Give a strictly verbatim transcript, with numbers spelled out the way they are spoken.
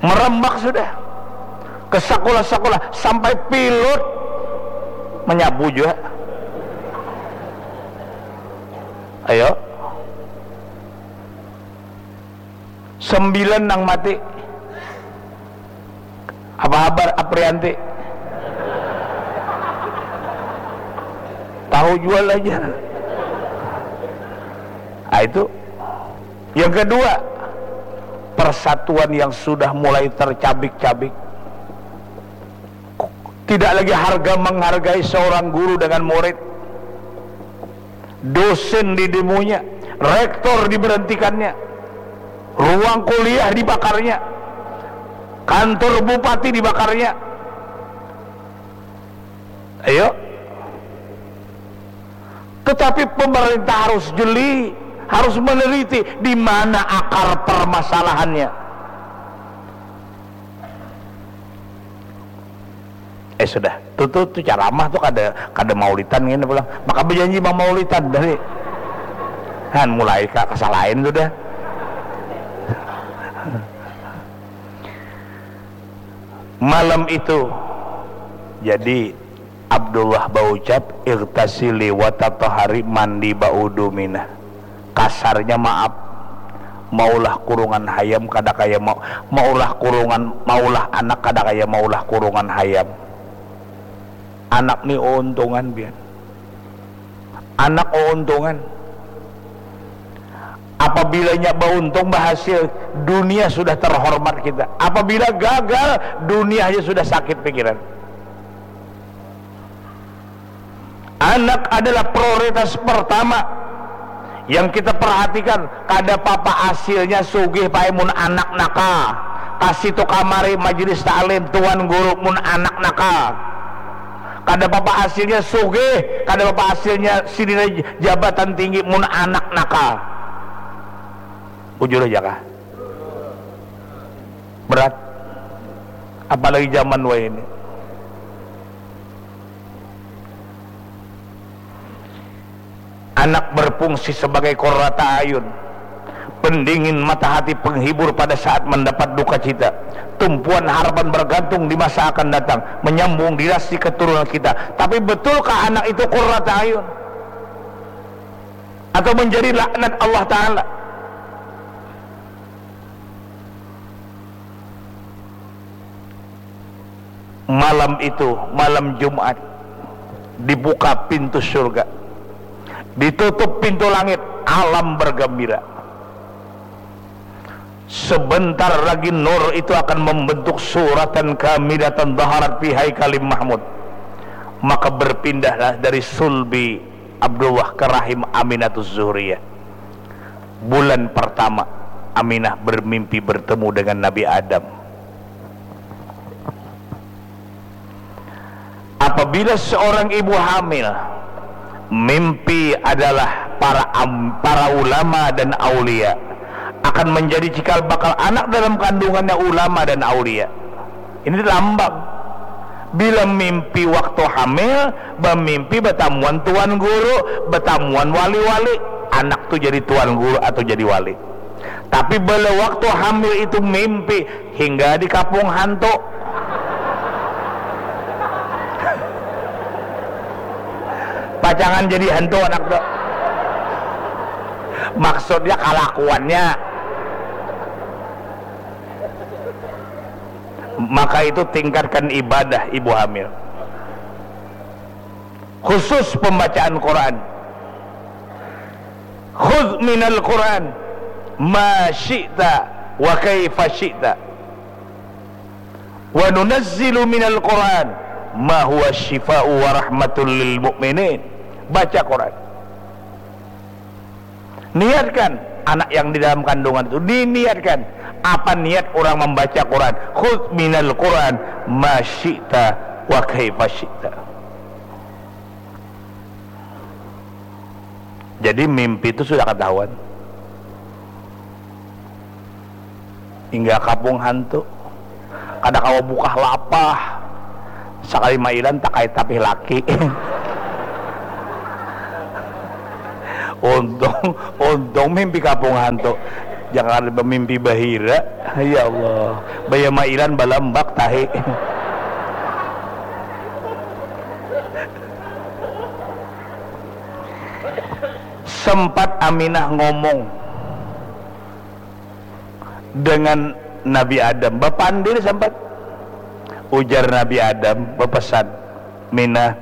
Merembak sudah ke sekolah-sekolah, sampai pilot menyapu juga. Ayo, sembilan nang mati. Apa habar Aprianti? Tahu jual aja. Ah, itu. Yang kedua, persatuan yang sudah mulai tercabik-cabik. Tidak lagi harga menghargai seorang guru dengan murid. Dosen didemunya, rektor diberhentikannya, ruang kuliah dibakarnya, kantor bupati dibakarnya. Ayo. Tetapi pemerintah harus jeli, harus meneliti di mana akar permasalahannya. Eh, sudah, tuh, tuh, tuh ceramah tuh kada, kada maulitan gini pulang. Maka berjanji mau maulitan dari kan mulai ka kesalahan sudah. Malam itu, jadi Abdullah baucap, "Igtasili wa tatahari, mandi baudu minah." Kasarnya, maaf, maulah kurungan hayam kada kaya mau, maulah kurungan, maulah anak kada kaya maulah kurungan hayam. Anak ni untungan, pian. Anak untungan. Apabila nya bauntung, bahasil, dunia sudah terhormat kita. Apabila gagal, dunia aja sudah sakit pikiran. Anak adalah prioritas pertama yang kita perhatikan. Kada papa hasilnya sugih, pai, mun anak nakal. Ka situ kamari, majelis taklim, tuan guru, mun anak nakal. Kada papa hasilnya sugih, kada papa hasilnya sidina jabatan tinggi, mun anak nakal. Bujur aja kah? Berat. Apalagi zaman wayah ini. Anak berfungsi sebagai qurrata ayun, pendingin mata hati, penghibur pada saat mendapat duka cita, tumpuan harapan bergantung di masa akan datang, menyambung dinasti keturunan kita. Tapi betulkah anak itu qurrata ayun? Atau menjadi laknat Allah Ta'ala? Malam itu, malam Jumat, dibuka pintu surga, ditutup pintu langit, alam bergembira. Sebentar lagi nur itu akan membentuk suratan kamilatan zaharat fi haikalim mahmud. Maka berpindahlah dari sulbi Abdullah ke rahim Aminatus Zuhriyah. Bulan pertama, Aminah bermimpi bertemu dengan Nabi Adam. Apabila seorang ibu hamil, mimpi adalah para am- para ulama dan aulia akan menjadi cikal bakal anak dalam kandungannya ulama dan aulia. Ini lambang. Bila mimpi waktu hamil, bamimpi batamuan tuan guru, batamuan wali-wali, anak tu jadi tuan guru atau jadi wali. Tapi bila waktu hamil itu mimpi hingga di kapung hantu, pacangan jadi hantu anak tu. Maksudnya kalakuannya. Maka itu tingkatkan ibadah ibu hamil. Khusus pembacaan Quran. Khudz minal Quran ma syi'ta wa kaifa syi'ta. Wa nunazzilu minal Quran ma huwa syifa'u wa rahmatul lil mu'minin. Baca Quran. Niatkan anak yang di dalam kandungan itu, diniatkan. Apa niat orang membaca Quran? Khudz minal Quran ma syi'ta wa kaifa syi'ta. Jadi mimpi itu sudah ketahuan. Hingga kapung hantu. Kada kawa bukah lapah. Sakali mailan takait tapih laki. Untung, untung mimpi kapung hantu. Jangan bamimpi bahira. Ya Allah. Baya mairan balambak tahi. Sempat Aminah ngomong dengan Nabi Adam, bapandir sempat. Ujar Nabi Adam, bapesan, Minah,